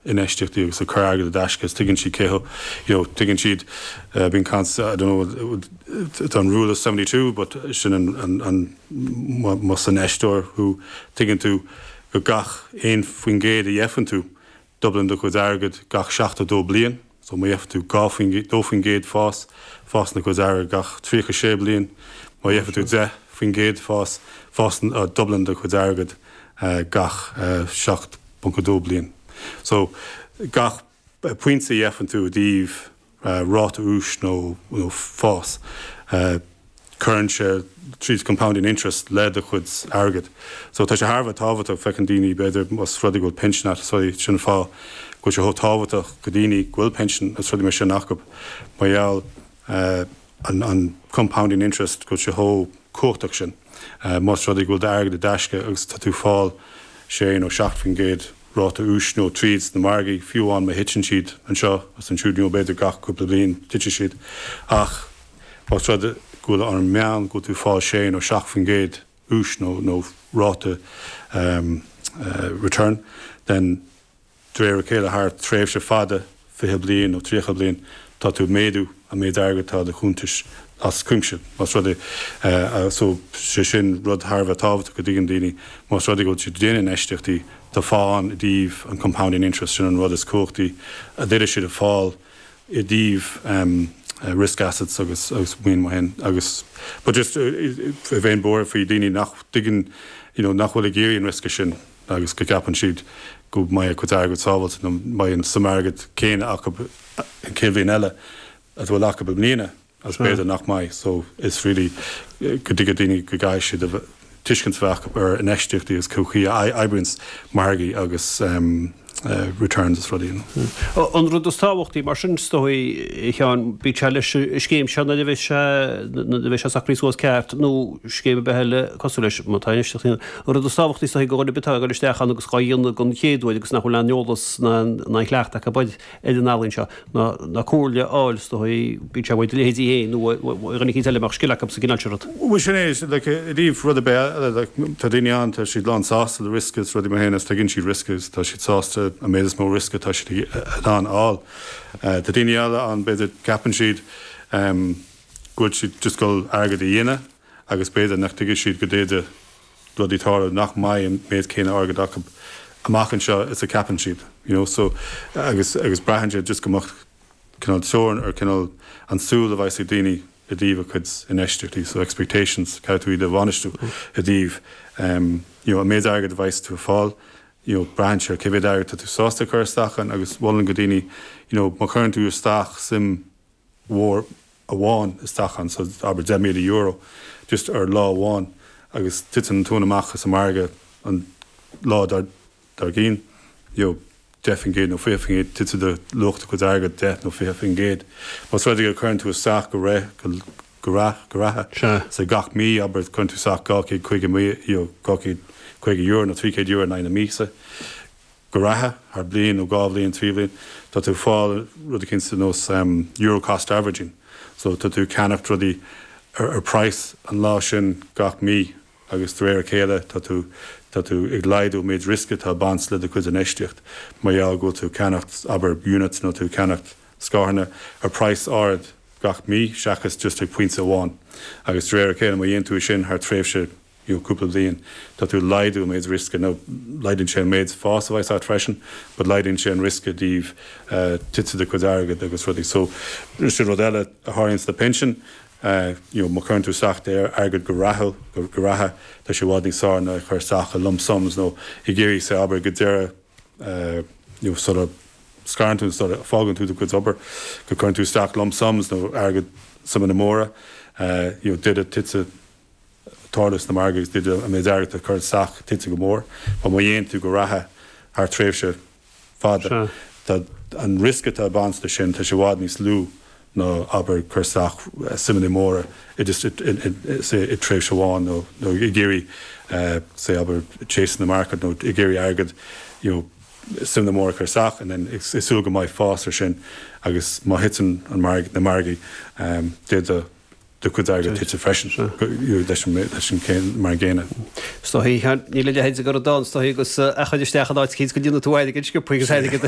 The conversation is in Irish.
Infheistíochtaí agus ag cur airgead i dtaisce is tuigeann siad cé you know tuigeann siad bíonn caint I don't know tá an rule of 72 but sin an an an más infheisteoir thú tuigeann tú go gach 1% a gheibheann tú dublaíonn do chuid airgead gach 72 bliain so má gheibheann tú 2 faoin gcéad fás fásann do chuid airgead gach 36 bliain má gheibheann tú 10% fás fásann dublaíonn do chuid airgead gach 7 .2 bliain. So, gach pointe a gheibheann tú i dtaobh ráta úis nó fás, cuireann sé tríd compounding interest le do chuid airgid. So, tá sé thar a bheith tábhachtach, feiceann daoine, b'fhéidir, más rud é go bhfuil pinsean agat, so sin an fáth go bhfuil sé chomh tábhachtach go daoine go bhfuil pinsean agus rudaí mar sin acu, mar gheall an compounding interest, go bhfuil sé chomh cumhachtach sin. Más rud é go bhfuil d'airgead i dtaisce agus tá tú ag fáil 6 nó 7% ráta úis nó tríd sna margaí, fiú amháin má thiteann siad anseo agus ansiúd nó b'fhéidir gach cúpla bliain titfidh siad, ach más rud é go bhfuil ar an meán go bhfuil tú ag fáil 6 nó 7% úis nó nó ráta return, then De réir a chéile, thar tréimhse fada, 20 bliain nó 30 bliain, tá tú ag méadú an méid airgid atá i do chuntais as cuimse. Más rud é, so, sé sin rud thar a bheith tábhachtach go dtuigeann daoine, más rud é go bhfuil siad ag déanamh infheistíochtaí, tá fáth ann i dtaobh an compounding interest, sin an rud is cumhachtaí a d'fhéadfadh siad a fáil i dtaobh risk assets agus agus maoin mar sin agus but just bheinn buartha faoi daoine nach dtuigeann, you know, nach bhfuil ag iarraidh an riosca sin. agus go gceapann siad go mbeidh a gcuid airgid sábháilte nó mbeidh an suim airgid céanna acu an chéad bhliain eile a bhfuil acu i mbliana agus b'fhéidir nach mbeidh. So is really go dtuigfidh daoine go gcaithfidh siad a tuiscint a bheith acu ar infheistíochtaí agus cén chaoi a oibríonns margaí agus returns is rudaí. An rud is tábhachtaí mar sin is dóigh, a Sheáin, bíodh sé leis an scéim seo nuair a bheidh sé nuair a bheidh sé socraithe suas ceart nó scéim ar bith eile cosúil leis, má tá infheistíocht An rud is tábhachtaí is dóigh do dhuine ar bith atá ag dul isteach ann agus dhá dhéanamh don chéad uair agus nach bhfuil aon eolas ná aon chleachtadh acu ar an ealaín seo ná comhairle a fháil is dóigh, bíodh sé uait do leithéidí féin nó ó dhuine eicínt eile a mbeadh scil acu sa gcineál sin rud. Bhuel sin é, like, i dtaobh rud ar bith eile, like, tá daoine ann, tá siad lán sásta le riosca is rudaí mar sin agus tuigeann siad riosca agus tá siad sásta an méid is mó riosca atá siad in ann a fháil. Tá daoine eile ann, b'fhéidir, ceapann siad go bhfuil siad just ag dul airgead a dhéanamh agus b'fhéidir nach dtuigfidh siad go d'fhéadfadh rudaí tarlú nach mbeidh an méid céanna airgead acu amach anseo is a ceapann siad, you know, so agus agus braitheann sé just go mbeadh cineál teorainn ar cineál an súil a bheas ag daoine i dtaobh a cuid infheistíochtaí, so expectations, caithfidh tú iad a bhainistiú i dtaobh em you know an méid airgead a bheas tú ag fáil, you know braitheann sé ar cé mhéad airgead tá tú sásta a chur isteach ann agus mholfainn go daoine you know má chuireann tú isteach suim mhór amháin isteach ann, so abair €10,000 just ar lá amháin agus titeann an tóin amach as an margadh an lá dár gcionn, you know, 10% nó 20%, titfidh do luach do chuid airgid 10 nó 20%. Más rud é go cuireann tú isteach go re, go, go reatha, go reatha, so gach mí, abair, cuireann tú isteach 250, you know, €250 nó €300 in aghaidh na míosa, go reatha, thar bliain nó dhá bhliain, trí bhliain, tá tú ag fáil rud eicínt ar nós euro cost averaging. So tá tú ag ceannacht rudaí ar price an lá sin gach mí agus de réir a chéile tá tú tá tú ag laghdú an méid riosca atá ag baint le do chuid infheistíocht mar gheall go bhfuil tú ag ceannacht abair units nó tú ag ceannacht scaireanna ar price ard gach mí seachas just ag pointe amháin. Agus de réir a chéile má dhéanann tú é sin thar tréimhse you know cúpla bliain, tá tú ag laghdú an méid riosca, nó laghdaíonn sé an méid fás a bheas agat freisin, but laghdaíonn sé an riosca i dtaobh titfidh do chuid airgid agus rudaí. So, sin rud eile a tharlaíonn sna pinsin, you know má chuireann tú isteach d'airgead go reatha, go reatha, tá sé i bhfad níos fearr ná é a chur isteach i lump sums nó ag iarraidh, say, abair go deireadh, you know sula scarann tú, sula fágann tú do chuid obair, go gcuireann tú isteach lump sums nó airgead suimeanna móra, you know d'fhéadfadh titfidh tarlú sna margaí agus d'fhéadfadh an méid airgid atá curtha isteach tite go mór. But má dhéanann tú go reatha thar tréimhse fada, tá an riosca atá ag baint leis sin, tá sé i bhfad níos lú ná abair cur isteach suimeanna móra i just say i tréimhse amháin nó nó ag iarraidh say abair chasing the market nó ag iarraidh airgead you know suimeanna móra a chur isteach and then ag súil go mbeidh fás ar sin agus má thiteann an marg na margaí d'fhéadfadh. do chuid airgid tite freisin leis an céim mar an gcéanna. Is dóigh, níl a leithéid de rud ann, is dóigh, agus a chur isteach in áit eicínt go ndéanfaidh tú airgead sciobtha agus airgead.